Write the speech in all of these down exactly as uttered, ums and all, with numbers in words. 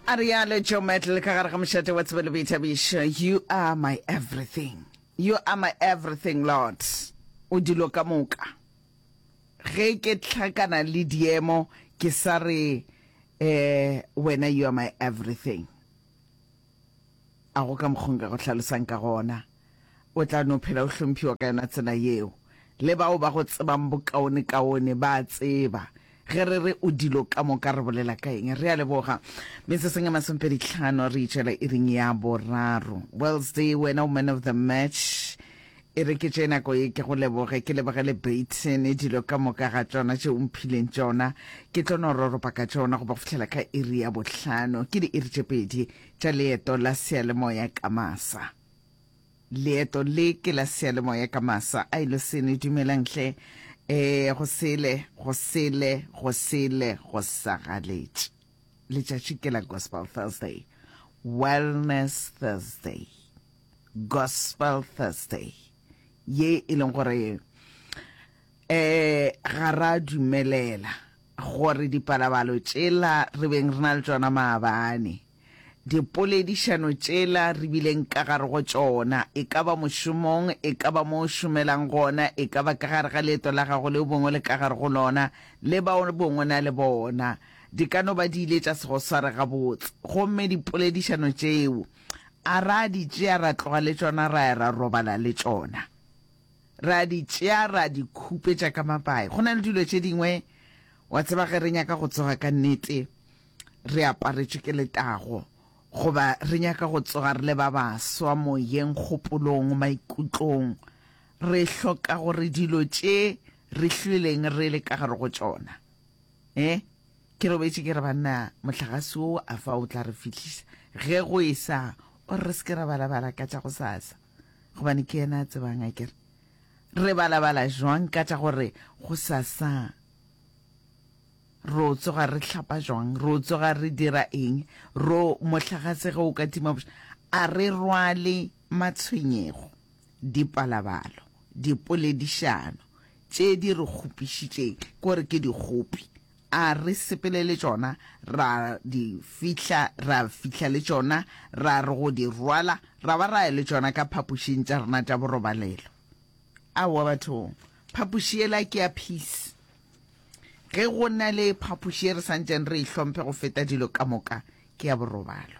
A rialo Joe Metal ka gare ga mošate wa tsebo le boithabišo. You are my everything. You are my everything, Lord. O dilo ka moka. Ge ke hlakana le diemo, ke sa re, eh, wena you are my everything. A go ka mokgwa nka go hlalosang ka gona. O tla no phela o hlomphiwa ka yona tsela yeo. Le bao ba go tsebang bokaonekaone ba a tseba. Ge re re o dilo ka moka re bolela ka eng? Re a leboga. Metsotsong e masomepedi tlhano re itšwela iring ya boraro. Wednesday, wena o man of the match. E re ke tše nako ye ke go leboge, ke leboge le Baton, dilo ka moka ga tšona tše o mphileng tšona. Ke tlo no roropa ka tšona go ba go fihlela ka iri ya bohlano. Ke diiri tše pedi tša leeto la seyalemoya ka masa. Leeto le ke la seyalemoya ka masa. A ilo sene, dumelang hle. E, go sele, go sele, go sele, go sa galetše. Letšatši ke la Gospel Thursday. Wellness Thursday. Gospel Thursday. Ye e leng gore eh ga ra dumelela gore dipalabalo tšela re beng re na le tšona maabane, dipoledišano tšela re bileng ka gare go tšona, e ka ba mošomong, e ka ba mo o šomelang gona, e ka ba ka gare ga leeto la gago leo bongwe le ka gare go lona, le bao bongwe na le bona, di ka no ba di ile tša se go sware gabotse. Gomme dipoledišano tšeo a ra di tšea ra tloga le tšona ra ya ra robala le tšona, ra di tšea ra di khupetša ka mapae. Go na le dilo tše dingwe, wa tseba, ge re nyaka go tsoga ka nnete re aparetšwe ke letago, goba re nyaka go tsoga re le ba baswa moyeng, kgopolong, maikutlong, re hloka gore dilo tše re hlweleng re le ka gare go tšona. Eh ke robetše ke re banna, mohlagase wo a fa o tla re fihlisa ge go e sa, o re se ke ra balabala ka tša go sasa, gobane ke yena a tsebang. A kere re balabala jwang ka tša gore go sasa ro tsoga re hlapa jwang, ro tsoga re dira eng, ro mohlagase ge o ka tima, a re rwale matshwenyego, dipalabalo, dipoledišano tše di re kgopišitšeng, ke gore ke dikgopi, a re sepele le tšona ra di fihla, ra fihla le tšona, ra re go di rwala ra ba ra ya le tšona ka phapošing tša rena tša borobalelo. Aowa bathong, phapoši yela ke ya peace. Ge go na le phapoši e re santšeng re e hlomphe go feta dilo ka moka, ke ya borobalo.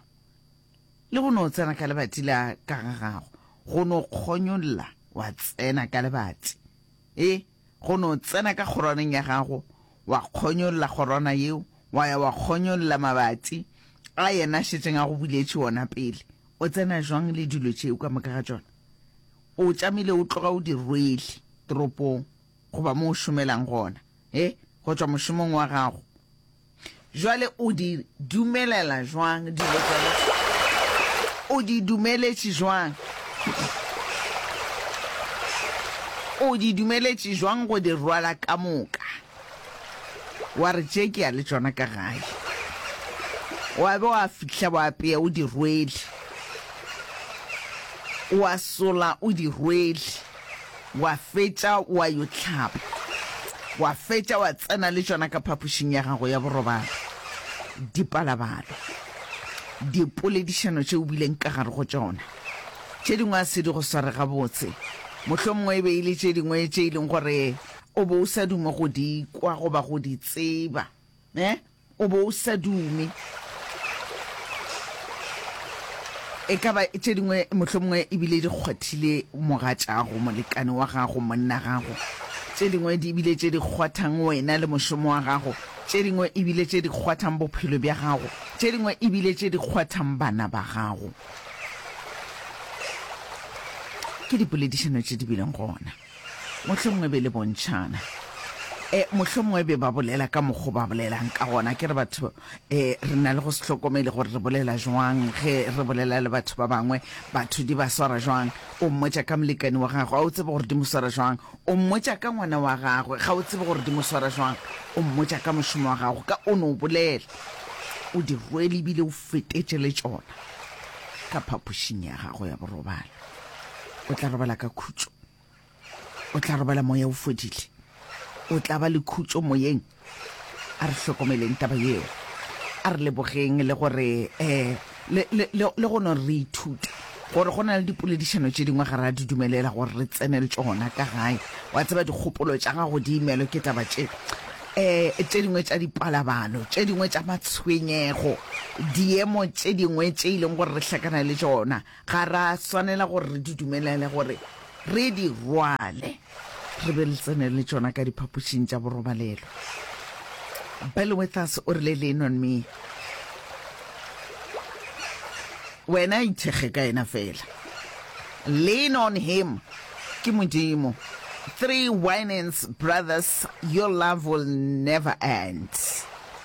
Le go no tsena ka lebati la ka ga gago, go no kgonyolla wa tsena ka lebati, e go no tsena ka kgorwaneng ya gago, wa kgonyolla kgorwana yeo, wa ya wa kgonyolla mabati a yena šetšeng a go buletše wona pele. O tsena jwang le dilo tšeo ka moka ga tšona? O tšamile o tloga o di rwele toropong goba mo o šomelang gona, e go tšwa mošomong wa gago. Jwale o di dumelela jwang dilo tšona? O di dumeletše jwang? O di dumeletše jwang go di rwala ka moka? Wa re tše ke ya le tšona ka gae, wa be wa fihla wa apea o di rwele, wa sola o di rwele, wa fetša wa yo hlapa, wa fetša wa tsena le tšona ka phapošing ya gago ya borobalo. Dipalabalo, dipoledišano tše o bileng ka gare go tšona, tše dingwe a se di go sware gabotse, mohlomongwe e be e le tše dingwe tše e leng gore o bo o sa dume go di kwa goba go di tseba, eh o bo o sa dume. E ka ba tše dingwe mohlomongwe ebile di kgwathile mogatšago, molekane wa gago, monna gago, tše dingwe di ebile tše di kgwathang wena le mošomo wa gago, tše dingwe ebile tše di kgwathang bophelo bja gago, tše dingwe ebile tše di kgwathang bana ba gago. Ke dipoledišano tše di bileng gona, mohlomongwe be le bontšhana, e mohlomongwe be ba bolela ka mokgo ba bolelang ka gona. Ke re batho e re na le go se hlokomele gore re bolela jwang ge re bolela le batho ba bangwe, batho di ba swara jwang. O mmotša ka molekane wa gagwe, ga o tsebe gore di mo swara jwang. O mmotša ka ngwana wa gagwe, ga o tsebe gore di mo swara jwang. O mmotša ka mošomo wa gago, ka o no bolela o di rwele ebile o fetetše le tšona ka phapošing ya gago ya borobalo. O tla robala ka khutšo, o tla robala moya o fodile, o tla ba le khutšo moyeng. A re hlokomeleng taba yeo, A re lebogeng le gore um le, le, le, le go no re ithute gore go na le dipoledišano tše dingwe ga ra di dumelela gore re tsene le tšona ka gae. Wa tseba dikgopolo tša gago di imelwe ke taba tše um tše dingwe tša dipalabalo, tše dingwe tša matshwenyego, diemo tše dingwe tše e leng gore re hlakana le tšona, ga ra swanela gore re di dumelele gore re di rwale, re be re tsene le tšona ka diphapošing tša borobalelo. Bill Withers o rile, Lean on me. Wena ithekge ka yena fela. Lean on him. Ke Modimo. Three Winans Brothers, Your Love Will Never End.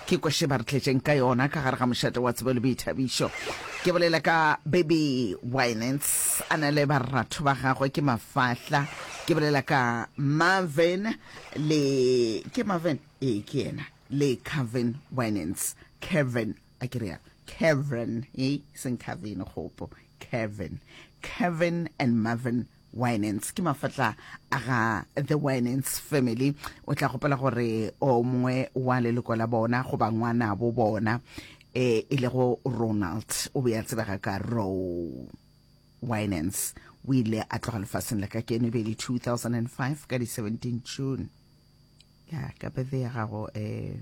Ke kwešše ba re tletšeng ka yona ka gare ga mošate wa tsebo le boithabišo. Ke bolela ka Baby Winans a na le baratho ba gagwe ke mafahla. Ke bolela ka Marvin le ke Marvin ee ke yena le Kevin Winans. Kevin a ke realo Kevin e seng Kevin kgopo Kevin Kevin and Marvin Winans ke mafatla a ga the Winans family. O tla gopela gore o mongwe wa leloko la bona goba ngwanabo bona e e lego Ronald o be a tsebega ka Ro Winans o ile a tloga lefaseng la ka keno e be e le two thousand and five ka di seventeen June. Ya ka birthday ya gago eh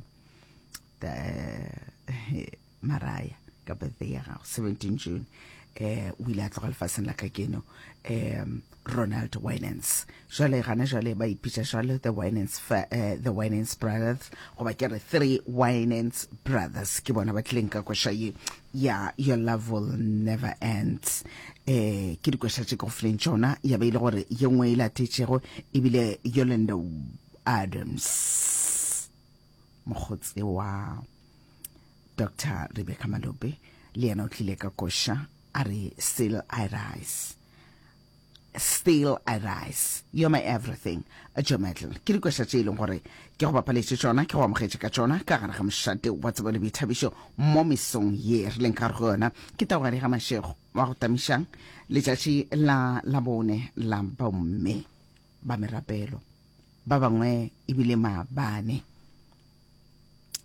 Maraya ka birthday ya gago seventeen June eh o ile a tloga lefaseng la ka keno eh Ronald Winans. Jwale gana jwale ba ipitša jwale the Winans fa, eh, the Winans Brothers goba ke re Three Winans Brothers ke bona ba tlileng ka koša ye ya Your Love Will Never End. Eh ke dikoša tše ke go fileng tšona ya be e le gore ye nngwe e latetšego ebile Yolanda Adams mokgotse wa Doctor Rebecca Malope le yena o tlile ka koša a re Still I Rise. Still I Rise, You're My Everything, Joe Metal. Ke dikoša tše e leng gore ke go bapaletše tšona, ke go amogetše ka tšona ka gare ga mošate wa tsebo le boithabišo mo mesong ye re leng ka gare go yona. Ke Taugadi ga Mashego wa go tamišang letšatši la Labone la bomme ba merapelo, ba bangwe ebile maabane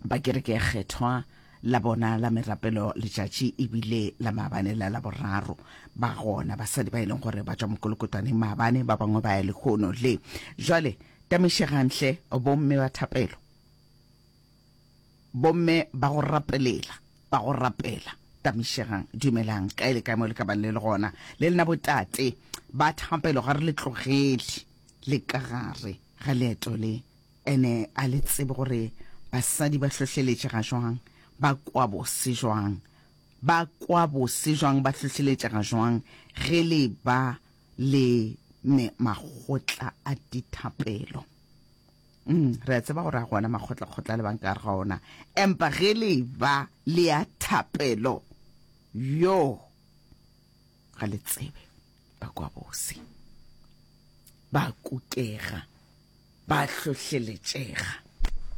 ba kereke ya kgethwa la bona la merapelo letšatši ebile la maabane la Laboraro. Ba gona basadi ba e leng gore ba tšwa mokolokotwaneng maabane, ba bangwe ba ya lehono le jwale. Tamišegang hle bomme ba thapelo, bomme ba go rapelela, ba go rapela, tamišegang, dumelang kae le kae mo le ka bang le le gona. Le lena botate ba thapelo ga re le tlogele le ka gare ga leeto le, ene a le tsebe gore basadi ba hlohleletšega jwang, ba kwa bose jwang, ba kwa bose jwang, ba hlohleletšega jwang ge le ba le me makgotla a dithapelo. Mm, re a tseba gore a gona makgotlakgotla le bang ka gare ga ona, empa ge le ba le ya thapelo yo ga le tsebe, ba kwa bose, ba kukega, ba hlohleletšega.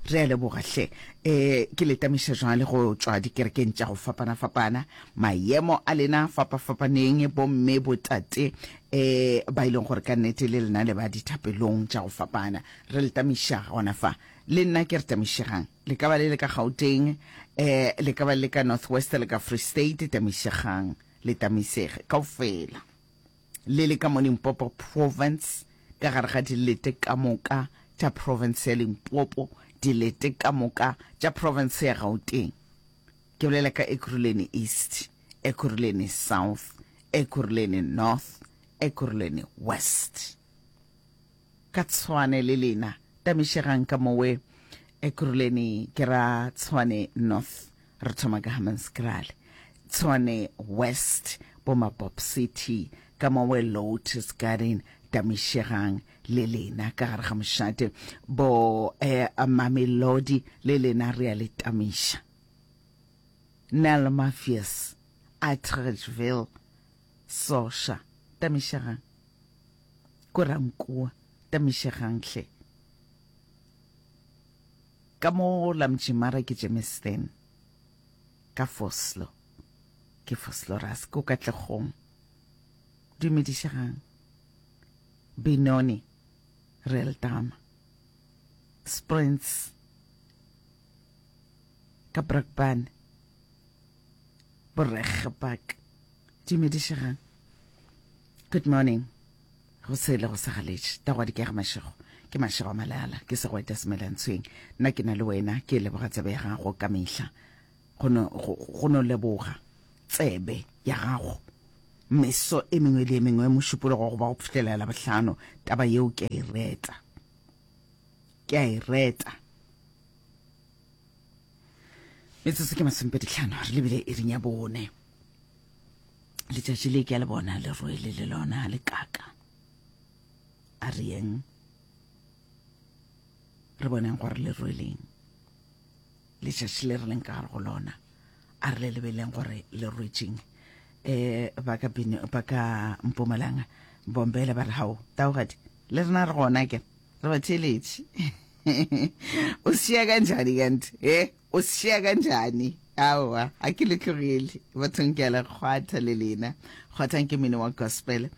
Re a leboga hle. Eh ke le tamiša jwale go tšwa dikerekeng tša go fapana-fapana, maemo a lena fapa-fapaneng, bomme botate eh ba e leng gore ka nnete le lena le ba dithapelong tša go fapana. Re le tamiša gona fa. Le nna ke re tamišegang. Le ka ba le le ka Gauteng, eh le ka ba le ka North West, le ka Free State, tamišegang, le tamisege kaofela. Le le ka mo Limpopo Province, ka gare ga dilete ka moka tša province ya Limpopo, dilete ka moka tša province ya Gauteng. Ke bolela ka Ekurhuleni East, Ekurhuleni South, Ekurhuleni North, Ekurhuleni West. Ka Tshwane le lena, tamišegang ka mowe Ekurhuleni ke ra Tshwane North, re thoma ka Hammanskraal, Tshwane West, bo Mabop City, ka mowe Lotus Garden, tamišegang le lena ka gare ga mošate, bo eh, Mamelodi le lena re a le tamiša. Nel Mafias, Atteridgeville, Sosha, tamišegang. Korankua, tamišegang hle. Ka mo la Mjimara ke Germiston, ka Vosloo, ke Vosloorus, ko Katlehong. Dumedišegang. Benoni, Realdama, Sprints, ka Brakpan, Boregepak. Dumedišegang. Good morning. Go sele go sa galetše. Tagwadi ke ya ga Mašego. Ke Mašego a Malala. Ke segweta semelantshweng. Nna ke na le wena. Ke leboga tsebe ya gago ka mehla. Go no, go, go no leboga tsebe ya gago. Meso e mengwe le e mengwe, Mošupologo goba go fihlela Labohlano, taba yeo ke a e reta. Ke a e reta. Metsotso ke masomepedi hlano, re lebile iring ya bone. Letšatši le ke a le bona le rwele le lona le kaka. A re yeng re boneng gore le rweleng. Letšatši le re leng ka gare go lona, a re le lebeleng gore le rwetšeng. Um ba ka Bino, ba ka Mpumalanga, Bombele ba re hao, taogadi, le rena re gona ke re ba theeletše. O šia kanjani kanti? Eh, o šia kanjani? Aowa, a ke le tlogele. Bathong ke a le kgwatha le lena. Kgwathang ke mmino wa gospel.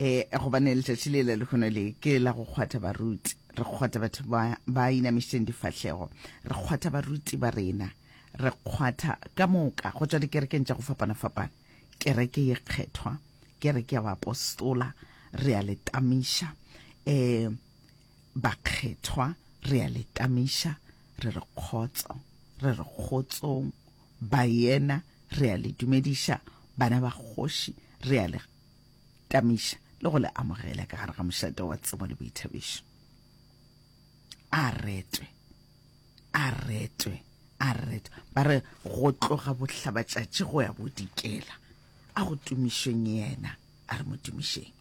Eh, gobane letšatši le la lehono le ke la go kgwatha baruti. Re kgwatha batho ba ba inamišitšeng difahlego. Re kgwatha baruti ba rena. Re kgwatha ka moka go tšwa dikerekeng tša go fapana-fapana. Kereke ye kgethwa, kereke ya baapostola, re a le tamiša. Eh, bakgethwa, re a le tamiša, re re kgotso, re re kgotsong. Baena, re a le dumediša. Bana ba kgoši, re a le tamiša le go le amogela ka gare ga mošate wa tsebo le boithabišo. A retwe, a retwe, a retwe. Ba re go tloga bohlabatšatši go ya bodikela, a go tumišweng yena, a re mo tumišeng.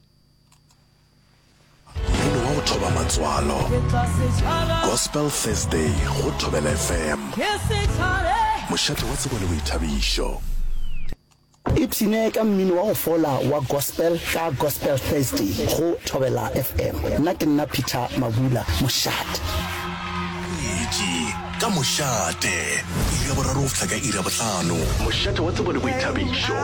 Mmino wa go thoba matswalo. Gospel Thursday go Thobela F M. Mošate wa tsebo le boithabišo. Ipshine ka mmino wa go fola wa gospel ka Gospel Thursday go Thobela F M. Nna ke nna Peter Mabula, mošate. Boetši ka mošate, iri ya boraro go fihla ka iri ya bohlano. Mošate wa tsebo le boithabišo.